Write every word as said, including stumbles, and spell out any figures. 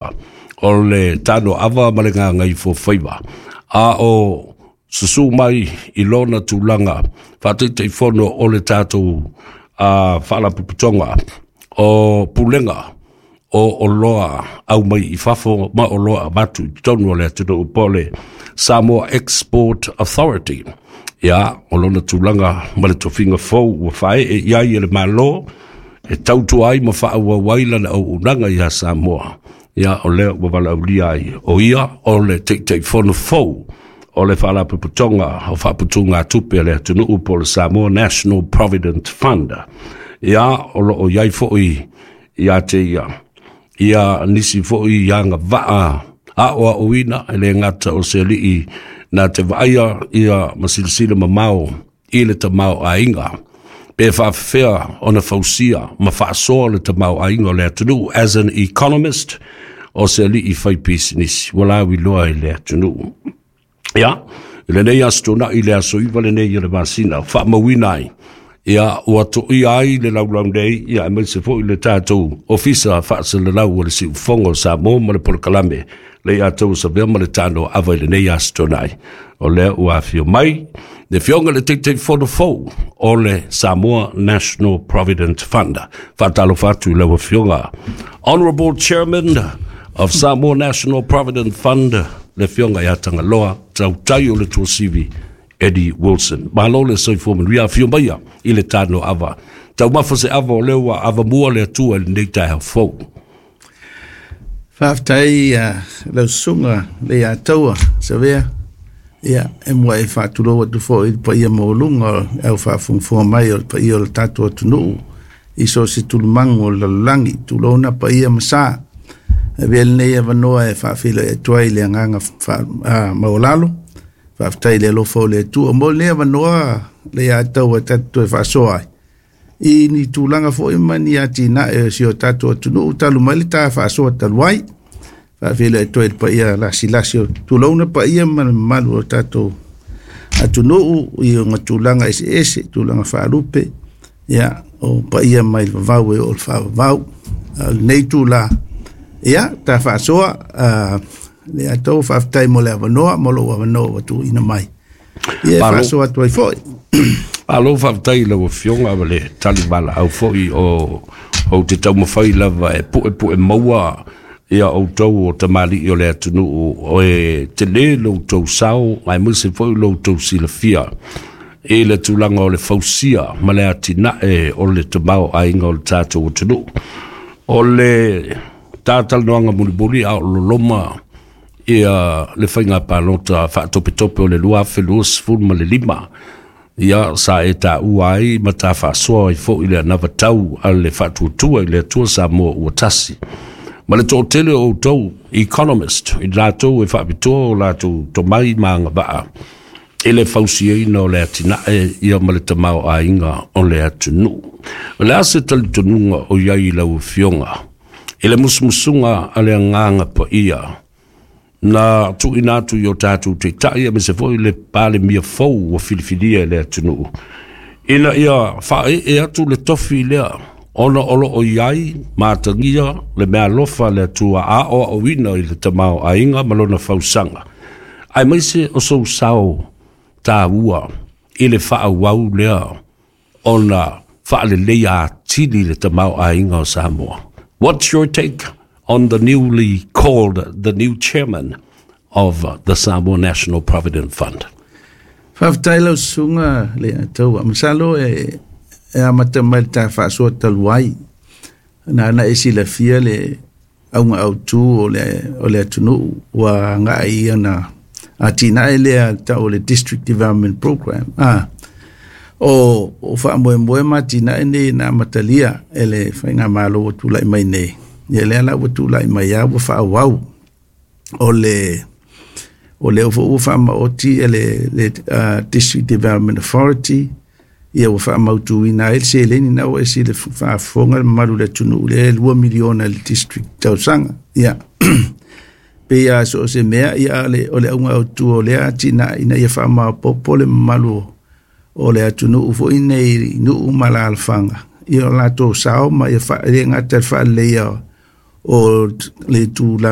O le tanoava ma le gagaifofaiva a o susu mai i lona tulaga faataitaifono o le tatou uh, faalapotopotoga o Pulega o Oloa Aumai i Fafo ma Oloa Avatu i totonu o le atunuu, po o le Samoa Export Authority. Ia, o lona tulaga ma le tofiga fou ua faaee i ai e le Malo e tautua ai ma faaauau ai lana auaunaga ia Samoa. Ia, o lea ua valaaulia ai o ia o le taitaifono fou o le Faalapotopotoga o Faaputugatupe a le atunuu, po o le Samoa National Provident Fund. Ia, o loo i ai foi ia te ia ia nisi foi agavaa aoaoina, e le gata o se alii na te vaaia ia ma silasila mamao i le tamaoaiga pe faafefea ona fausia ma faasoa le tamaoaiga o le atunuu. As an economist, o se alii fai pisinisi ua lauiloa i le atunuu. Ia, i lenei aso Toonai, le aso iva lenei o le masina, faamauina ai ia ua toia ai le laulau nei, ia aemaise foi le tatou ofisa faasalalau o le Siufogo o Samoa ma le polokalame le ia tou savea ma le tanoava i lenei aso Toonai. O lea ua afio mai le afioga le Taitaifono fou o le Samoa National Provident Fund. Faatalofa atu i lau afioga, Honorable Chairman of Samoa National Provident Fund, le afioga ia Tagaloa Tautai o le Tuasivi Eddie Wilson. Malo le soifua manuia, afio maia i le tanoava. Taumafa se ava, o lea ua avamua le Atua i lenei taeao fou. Faafetai uh, lau susuga le ia taua Savea. Ia, e mua e faatulou atu foi i le paia maualuga o le au faafogafoga mai, o le paia o le tatou atunuu i so o se tulumagu o le lalolagi. Tulouna paia ma sa. Avea lenei avanoa e faafeiloai atu ai le agaga uh, maualalo. Faafetai i le alofa o le Atua mo lenei avanoa le ia taua e tatou toe faasoa ai i ni tulaga foi ma ni atinae o si o tatou atunuu talu mai le ta faasoa talu ai. Faafeiloai atu ai le paia lasilasi o tulouna paia ma le mamalu o tatou atunuu i ona tulaga eseese, tulaga faalupe, ia o paia mai le vavau e oo le faavavau. Lenei tula, ia ta faasoa uh, le atau. Faafetai mo le avanoa, mo lou avanoa ua tuuina mai. Ia, e faasoa atu ai foi. Malo faafetai i lau afioga ma le tali valaau foi o ou te taumafai lava e puepue maua ia outou o tamalii o le atunuu, o e tele lo outou sao aemaise foi lo outou silafia i le tulaga o le fausia ma le atinae o le tamaoaiga o le tatou atunuu. O le tatalanoaga mulimuli a o loloma ia le faiga palota faatopetope o le lua afe luasefulu ma le lima, ia sa e taua ai ma ta faasoa ai foi le anavatau a le Faatuatua i le Atua Samoa Ua Tasi ma le toatele o outou economist, i latou e faapitoa o latou tomai ma agavaa i le fausiaina o le atinae ia ma le tamaoaiga o le atunuu. O le a se talitonuga o i ai i lau afioga i le musumusuga a le Agaga Paia na tuuina atu i o tatou taitai aemaise foi le Palemia fou ua filifilia e le atunuu ina ia faaee atu le tofi lea, ona o loo i ai matagia le meaalofa le Atua aoaoina i le tamaoaiga ma lona fausaga, aemaise o sou sao taua i le faaauau lea ona faaleleia atili le tamaoaiga o Samoa? What's your take on the newly called, the new chairman of the Samoa National Provident Fund? Faafetai lau susuga le ataua. Masalo e e amata mai le ta faasoa talu ai. Na na e silafia le auga autu o le, o le atunuu ua agai ia na atinae lea tau o le District Development Program. Ah, o, o faamoemoe ma atinae nei na amatalia e le faigamalo ua tulai mai nei. Ia lea la ua tulai mai a ua faaauau. O le o lea foi ua faamaoti e le, le uh, District Development Authority, ia ua faamautuina ai le seleni na ua ese le faafofoga le mamalu le atunuu le lua miliona le district tausaga. Ia pei a so o se mea ia le, o le auga autu o lea atinae ina ia faamaopoopo le mamalu o le atunuu foi nei i nuu ma alaalafaga ia o latou sao ma ia fa, le gata le faaleleia O le tulaga.